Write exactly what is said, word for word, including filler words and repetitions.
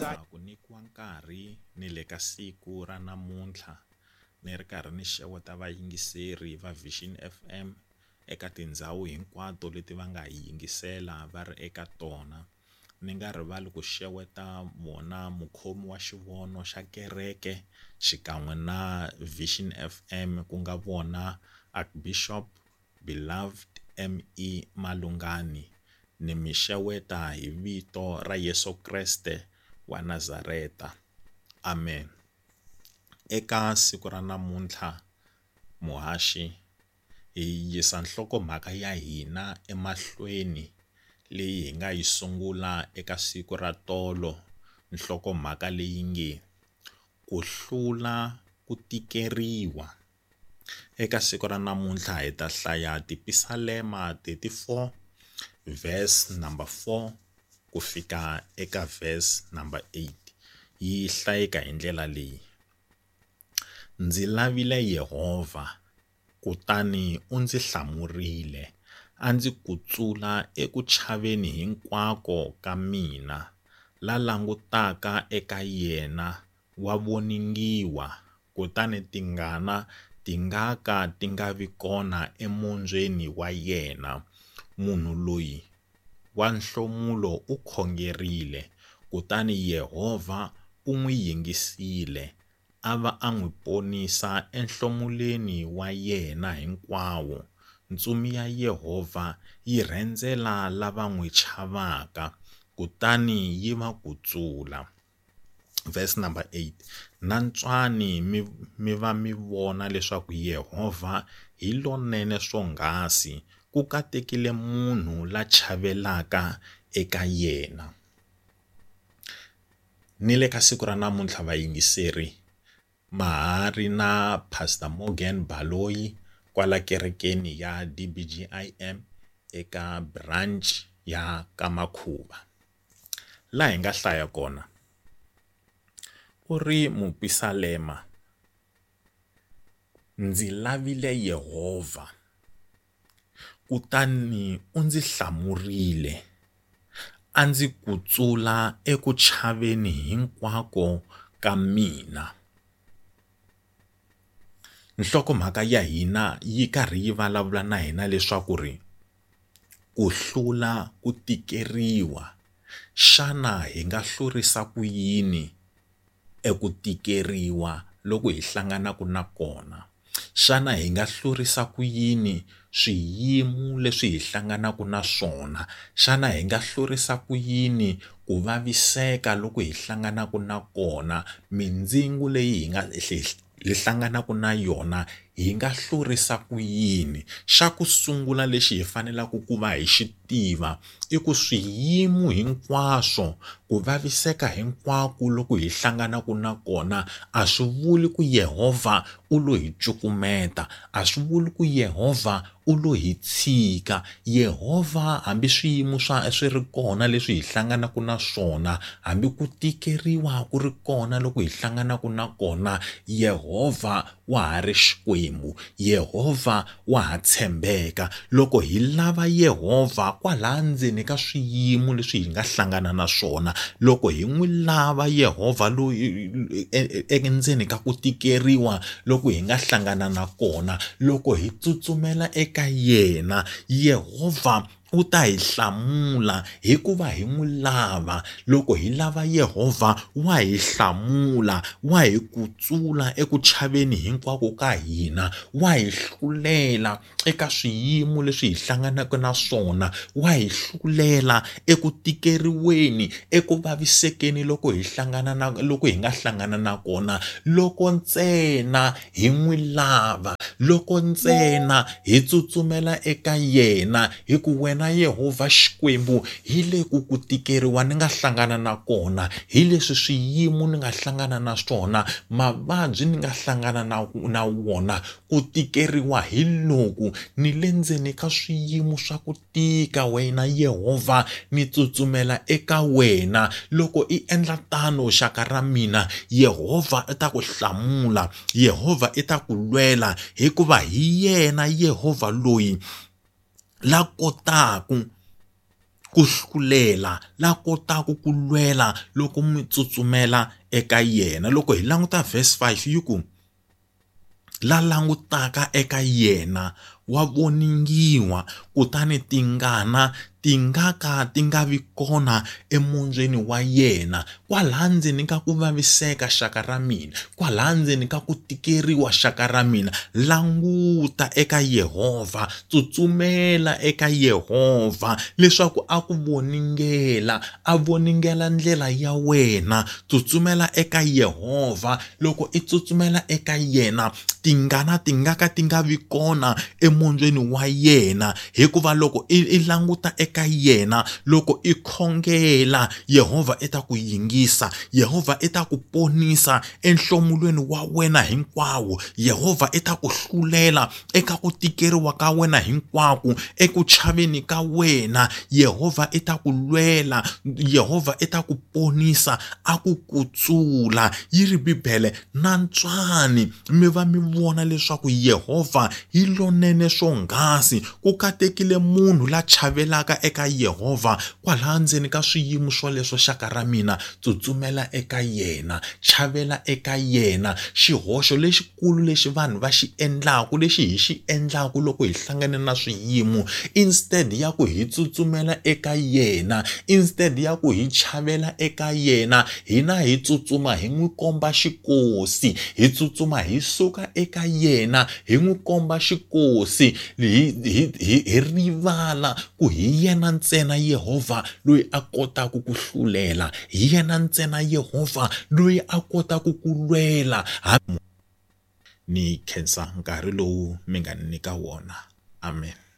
Khensa ku nyikiwa nkarhi ni le ka siku ra namuntlha ni ri karhi ni xeweta vayingiseri va Vision F M eka tindhawu hinkwato leti va nga hi yingisela va ri eka tona. Ni nga rivali ku xeweta vona mukhomi wa xivono xa kereke xikan'we na Vision F M, ku nga vona Archbishop Beloved M E Malungani. Ni mi xeweta hi vito ra Yeso Kreste wa Nazareta, amen. Eka siku ra namuntlha muhaxi hi yisa nhlokomhaka ya hina emahlweni leyi hi nga yi sungula eka siku ra tolo, nhlokomhaka leyi nge ku hlula ku tikeriwa. Eka siku ra namuntlha hi ta hlaya Tipisalema thirty-four verse number four ku fika eka verse number eight. Yi hlayeka hi ndlela leyi: ndzi lavile Yehovha, kutani u ndzi hlamurile, a ndzi kutsula eku chaveni hinkwako ka mina. La langutaka eka yena wa voningiwa, kutani tingana ti nga ka ti nga vi kona emombyeni wa yena. Munhu loyi wa nhlomulo u khongerile, kutani Yehovha u n'wi yingisile, a va a n'wi ponisa enhlomulweni wa yena hinkwawo. Ntsumi ya Yehovha yi rhendzela lava n'wi chavaka, kutani yi va kutsula. Verse number eight, nantswani mi mi va mi vona leswaku Yehovha hi lonene swonghasi, ku katekile munhu la chavelaka eka yena. Ni le ka siku ra namuntlha vayingiseri ma ha ri na Pastor Morgan Baloyi kwala kerekeni ya D B G I M eka branch ya Kamakhuva. Laha hi nga hlaya kona u ri mupisalema, ndzi lavile Yehovha, kutani u ndzi hlamurile, a ndzi kutsula eku chaveni hinkwako ka mina. Nhlokomhaka ya hina yi karhi yi vulavula na hina leswaku ri ku hlula ku tikeriwa, xana hi nga hlurisa ku yini eku tikeriwa loko hi hlanganaka na kona? Xana hi nga hlurisa ku yini swiyimo leswi hi hlanganaka na swona? Xana hi nga hlurisa ku yini ku vaviseka loko hi hlanganaka na kona? Mindzingo leyi hi nga hi hlanganaka na yona hi nga hlurisa ku yini? Xa ku sungula lexi hi faneleke ku va hi xi tiva i ku swiyimo hinkwaswo, ku vaviseka hinkwako loko hi hlanganaka na kona a swi vuli ku Yehovha u lo hi cukumeta, a swi vuli ku Yehovha u lo hi tshika. Yehovha hambi swiyimo swa swi ri kona leswi hi hlanganaka na swona, hambi ku tikeriwa ku ri kona loko hi hlanganaka na kona, Yehovha wa ha ri Xikwembu, Yehovha wa ha tshembeka. Loko hi lava Yehovha kwala ndzeni ka swiyimo leswi hi nga hlangana na swona, loko hi n'wi lava Yehovha loyi endzeni ka ku tikeriwa loko hi nga hlangana na kona, loko hi tsutsumela eka yena, Yehovha u ta hi hlamula hikuva hi n'wi lava. Loko hi lava Yehovha wa hi hlamula, wa hi kutsula eku chaveni hinkwako ka hina, wa hi hlulela eka swiyimo leswi hi hlanganaka na swona, wa hi hlulela eku tikeriweni, eku vavisekeni loko hi hlangana na loko hi nga hlangana na kona, loko ntsena hi n'wi lava, loko ntsena hi tsutsumela eka yena. Hi ku wena Yehovha Xikwembu hi le ku ku tikeriwa ni nga hlangana na kona, hi leswi swiyimo ni nga hlangana na swona, mavabyi ni nga hlangana na na wona, ku tikeriwa hi loku, ni le ndzeni ka swiyimo swa ku tika wena Yehovha ni tsutsumela eka wena. Loko i endla tano xaka ra mina, Yehovha i ta ku hlamula, Yehovha i ta ku lwela, hikuva hi yena Yehovha loyi la kotaku ku hlulela, la kotaka ku lwela loko mi tsutsumela eka yena. Loko hi languta verse five yi ku la langutaka eka yena wa voningiwa, kutani tingana ti nga ka ti nga vi kona emondzweni wa yena. Kwalaha ndzeni ka ku vaviseka xaka ra mina, kwalaha ndzeni ka ku tikeriwa xaka ra mina, languta eka Yehovha, tsutsumela eka Yehovha leswaku a ku voningela, a voningela ndlela ya wena. Tsutsumela eka Yehovha, loko i tsutsumela eka yena tingana ti nga ka ti nga vi kona emondzweni wa yena, hikuva loko i, i languta eka yena, loko i khongela, Yehovha i ta ku yingisa, Yehovha i ta ku ponisa enhlomulweni wa wena hinkwawo, Yehovha i ta ku hlulela eka ku tikeriwa ka wena hinkwako, eku chaveni ka wena, Yehovha i ta ku lwela, Yehovha i ta ku ponisa, a ku kutsula. Yi ri Bibele, nantswani mi va mi vona leswaku Yehovha hi lonene swonghasi, ku katekile munhu la chavelaka eka Yehovha. Kwalaha ndzeni ka swiyimo swoleswo xaka ra mina, tsutsumela eka yena, chavela eka yena. Xihoxo lexikulu lexi vanhu va xi endlaku, lexi hi xi endlaku loko hi hlangane na swiyimo, instead ya ku hi tsutsumela eka yena, instead ya ku hi chavela eka yena, hina hi tsutsuma hi n'wi komba xikosi, hi tsutsuma hi suka eka yena hi n'wi komba xikosi, hi hi hi rivala ku hi yena ntsena Yehovha loyi a kotaka ku hlulela, hi yena ntsena Yehovha loyi a kotaka ku lwela. Ni khensa nkarhi lowu mi nga ni nyika wona. Amen.